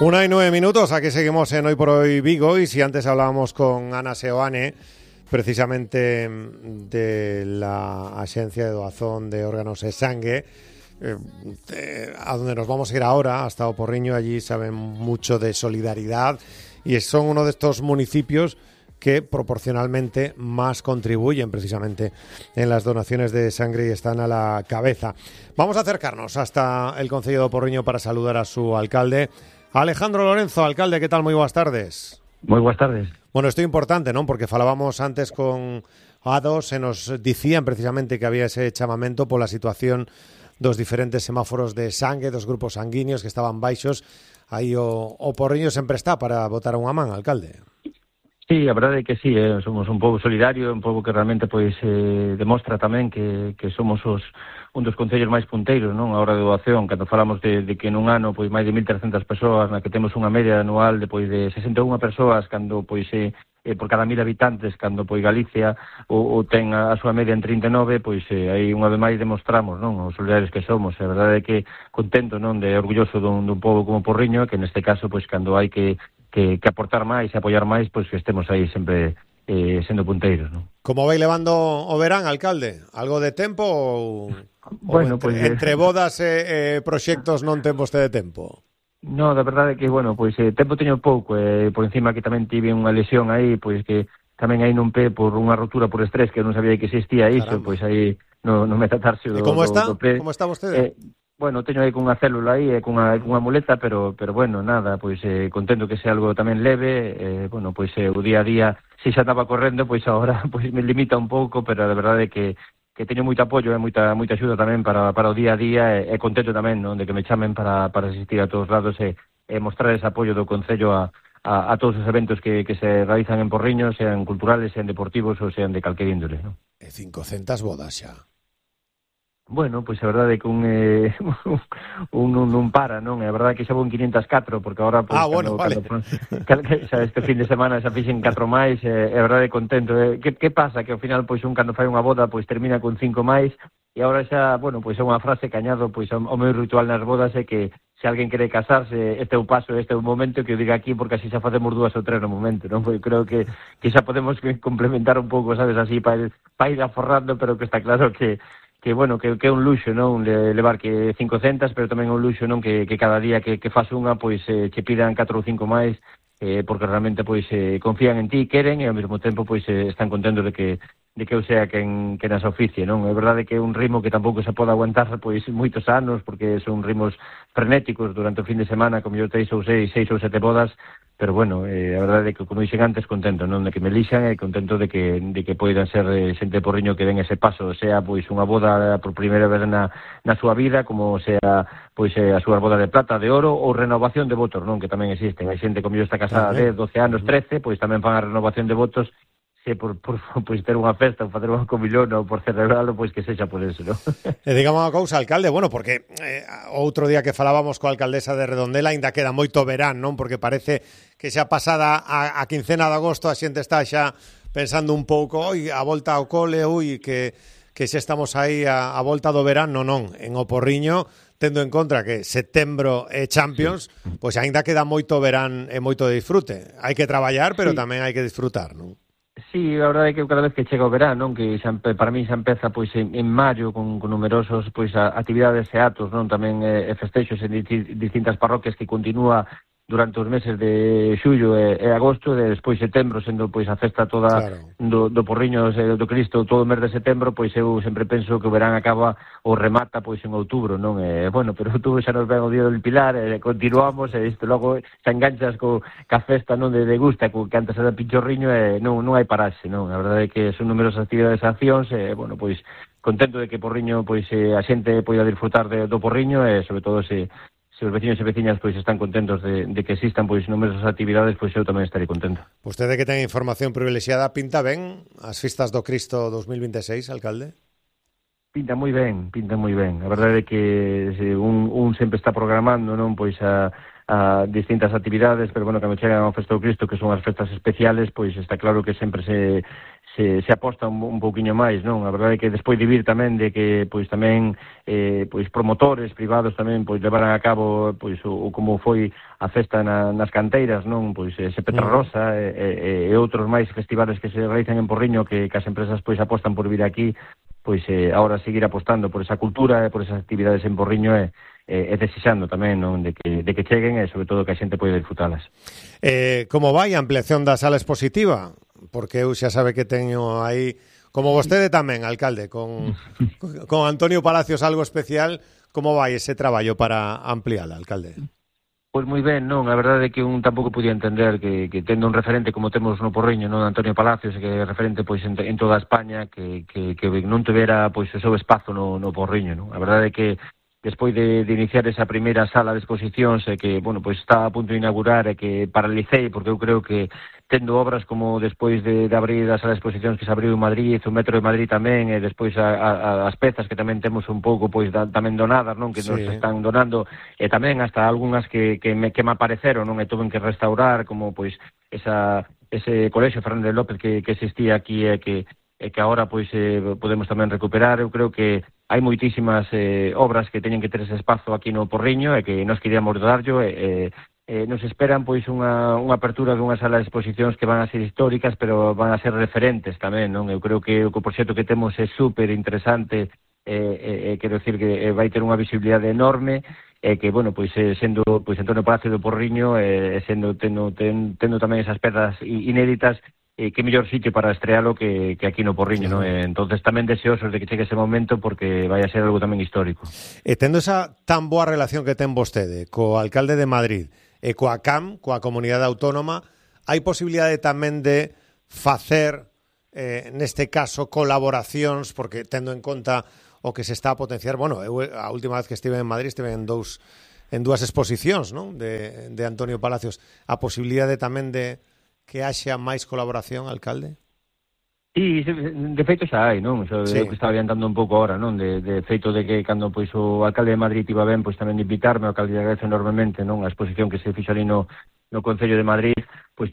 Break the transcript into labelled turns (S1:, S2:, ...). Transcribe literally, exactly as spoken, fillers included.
S1: Una y nueve minutos, aquí seguimos en Hoy por Hoy Vigo, y si antes hablábamos con Ana Seoane, precisamente de la Axencia de Doazón de Órganos e Sangue, eh, eh, a donde nos vamos a ir ahora, hasta O Porriño. Allí saben mucho de solidaridad y son uno de estos municipios que proporcionalmente más contribuyen precisamente en las donaciones de sangre y están a la cabeza. Vamos a acercarnos hasta el concello de O Porriño para saludar a su alcalde, Alejandro Lorenzo. Alcalde, que tal? Moi boas tardes.
S2: Moi boas tardes.
S1: Bueno, isto é importante, non? Porque falábamos antes con A dos e nos dicían precisamente que había ese chamamento pola situación dos diferentes semáforos de sangue, dos grupos sanguíneos que estaban baixos. Aí o, o Porriño sempre está para botar unha man, alcalde.
S2: Sí, a verdade é que sí, eh, somos un pobo solidario, un pobo que realmente pois eh, demostra tamén que, que somos os un dos concellos máis punteiros, non, a hora de doación, cando falamos de, de que nun ano pois máis de mil trescentas persoas, na que temos unha media anual de pois de sesenta e unha persoas, cando pois eh, eh, por cada mil habitantes, cando pois Galicia o, o ten a, a súa media en trinta e nove, pois eh, aí unha vez máis demostramos, non, os solidarios que somos. A verdade é que contento, non, de orgulloso dun, dun pobo como Porriño, que neste caso pois cando hai que Que, que aportar máis e apoiar máis, pois que estemos aí sempre eh, sendo punteiros, non?
S1: Como vai levando o verán, alcalde? Algo de tempo ou,
S2: bueno,
S1: ou entre,
S2: pues,
S1: entre bodas e eh, proxectos non ten vostede tempo?
S2: No, da verdade é que, bueno, pois eh, tempo teño pouco, e eh, por encima que tamén tive unha lesión aí, pois que tamén aí non pé por unha rotura por estrés que non sabía que existía iso, pois aí no, no metatarse do,
S1: e como está?
S2: do, do pé.
S1: Como está vostede?
S2: Eh, Bueno, teño aí cunha célula aí e cunha, cunha muleta, pero pero bueno, nada, pois eh, contento que sea algo tamén leve, eh, bueno, pois eh, o día a día, se xa estaba correndo, pois agora pois me limita un pouco, pero a verdade é que que teño moito apoio e moita moita axuda tamén para para o día a día, e, e contento tamén, non, de que me chamen para para asistir a todos lados e, e mostrar ese apoio do concello a a, a todos os eventos que, que se realizan en Porriño, sean culturales, sean deportivos ou sean de calquer índole, non?
S1: E cincocentas bodas xa.
S2: Bueno, pois a verdade é que un, eh, un, un non para, non? A verdade é que xa vou en quinientas e catro, porque agora pois,
S1: ah, bueno,
S2: cando,
S1: vale.
S2: cando, xa este fin de semana xa fixen catro máis, e eh, a verdade é contento. Eh. Que, que pasa? Que ao final, pois un cando fai unha boda, pois termina con cinco máis, e agora xa, bueno, pois é unha frase que añado, pois o, o meu ritual nas bodas é que se alguén quere casarse, este é o paso, este é o momento, que eu diga aquí, porque así xa facemos dúas ou tres no momento, non? Pois creo que, que xa podemos complementar un pouco, sabes, así, para pa ir aforrando, pero que está claro que que bueno, que, que é un luxo, non, levar que cincocentas, pero tamén é un luxo, non, que, que cada día que, que faz unha, pois eh, che pidan catro ou cinco máis, eh, porque realmente pois eh, confían en ti, queren, e ao mesmo tempo pois eh, están contentos de que de que eu sea quen, quen as oficie, non? É verdade que é un ritmo que tampouco se pode aguantar pois moitos anos, porque son ritmos frenéticos durante o fin de semana, como eu teis ou seis, seis ou sete bodas, pero bueno, eh, a verdade é que, como dixen antes, contento, non, de que me elixan, e contento de que de que poidan ser eh, xente de Porriño que den ese paso, sea pois unha boda por primeira vez na, na súa vida, como sea pois eh, a súa boda de plata, de oro, ou renovación de votos, non, que tamén existen. Hai xente como eu está casada de doce anos, trece, pois tamén fan a renovación de votos, se por, por pois ter unha festa ou facer unha comilón ou por celebralo, pois que sexa por eso, non?
S1: E digamos unha cousa, alcalde, bueno, porque eh, outro día que falábamos coa alcaldesa de Redondela aínda queda moito verán, non? Porque parece que xa pasada a, a quincena de agosto a xente está xa pensando un pouco, oi, a volta ao cole, ui, que, que xa estamos aí a, a volta do verán, non, non, en O Porriño, tendo en contra que setembro é Champions, sí. Pois aínda queda moito verán e moito de disfrute. Hai que traballar, pero sí, tamén hai que disfrutar, non?
S2: Sí, a verdade é que cada vez que chega o verán, non, que xa, para mí xa empeza pois en, en maio con, con numerosos pois a, actividades e atos, non, tamén eh, festexos en distintas parroquias que continúa durante os meses de xullo e, e agosto, e despois setembro, sendo pois a festa toda, claro, do, do Porriño do Cristo, todo o mes de setembro, pois eu sempre penso que o verán acaba ou remata pois en outubro, non? E, bueno, pero outubro xa nos ven o día do Pilar, e continuamos, e isto logo xa enganchas co, ca festa, non, de, de gusta, co, que antes era Pinchorriño, e non, non hai pararse, non? A verdade é que son numerosas actividades e accións, e, bueno, pois contento de que Porriño, pois eh, a xente poida disfrutar de, do Porriño, e sobre todo se se os veciños e veciñas pois están contentos de, de que existan pois numerosas actividades, pois eu tamén estarei contento.
S1: Vostede que ten información privilexiada, pinta ben as festas do Cristo dos mil vinte e seis, alcalde?
S2: Pinta moi ben, pinta moi ben. A verdade é que se un, un sempre está programando, non, pois a, a distintas actividades, pero bueno, cando chegan ao Festa do Cristo, que son as festas especiales, pois está claro que sempre se se, se aposta un, un pouquiño máis, non? A verdade é que despois de vir tamén de que pois tamén eh, pois promotores privados tamén pois levaran a cabo pois o, o como foi a festa na, nas canteiras, non? Pois ese Petra Rosa e, e, e outros máis festivales que se realizan en Porriño que, que as empresas pois apostan por vir aquí, pois eh, ahora seguir apostando por esa cultura e por esas actividades en Porriño e e, e desexando tamén non de que, de que cheguen e sobre todo que a xente poida disfrutalas.
S1: Eh, como vai a ampliación da sala expositiva? Porque eu xa sabe que teño aí, como vostede tamén, alcalde, con, con Antonio Palacios algo especial, como vai ese traballo para ampliala, alcalde?
S2: Pois moi ben, non, a verdade é que un tampouco podía entender que, que tendo un referente como temos no Porriño, non, Antonio Palacios, que é referente pois en, en toda España, que, que, que non tivera pois o seu espazo no, no Porriño, non? A verdade é que despois de, de iniciar esa primeira sala de exposicións e que, bueno, pois está a punto de inaugurar e que paralicei, porque eu creo que tendo obras como despois de, de abrir a sala de exposicións que se abriu en Madrid, o Metro de Madrid tamén, e despois a, a, as pezas que tamén temos un pouco pois da, tamén donadas, non, que sí. Nos están donando, e tamén hasta algunhas que, que, me, que me apareceron, non, e tuven que restaurar, como pois esa, ese colexio Fernández López que, que existía aquí e que e que agora pois eh, podemos tamén recuperar. Eu creo que hai moitísimas eh, obras que teñen que ter ese espazo aquí no Porriño e que nós queríamos darllo e, e, e nos esperan pois unha, unha apertura dunha sala de exposicións que van a ser históricas, pero van a ser referentes tamén, non? Eu creo que o proxecto que temos é super interesante e, e, e quero decir que vai ter unha visibilidade enorme e que, bueno, pois eh, sendo pois Antonio Palacio do Porriño e eh, sendo tendo, ten, tendo tamén esas pedras inéditas, e que mellor sitio para estrealo que, que aquí no Porriño, claro. Non? Entonces tamén deseosos de que chegue ese momento porque vai a ser algo tamén histórico.
S1: E tendo esa tan boa relación que ten vostede co alcalde de Madrid e coa C A M, coa Comunidade Autónoma, hai posibilidade tamén de facer, eh, neste caso, colaboracións, porque tendo en conta o que se está a potenciar, bueno, eu a última vez que estive en Madrid estive en dous en dúas exposicións, non? De, de Antonio Palacios. A posibilidade tamén de que haxa máis colaboración, alcalde?
S2: Sí, de feito xa hai, non? Xa, sí. Eu que estaba adiantando un pouco ahora, non? De, de feito de que cando pois o alcalde de Madrid iba ben, pois tamén de invitarme, o alcalde agradece enormemente, non? A exposición que se fixo ali no, no Concello de Madrid, pois tive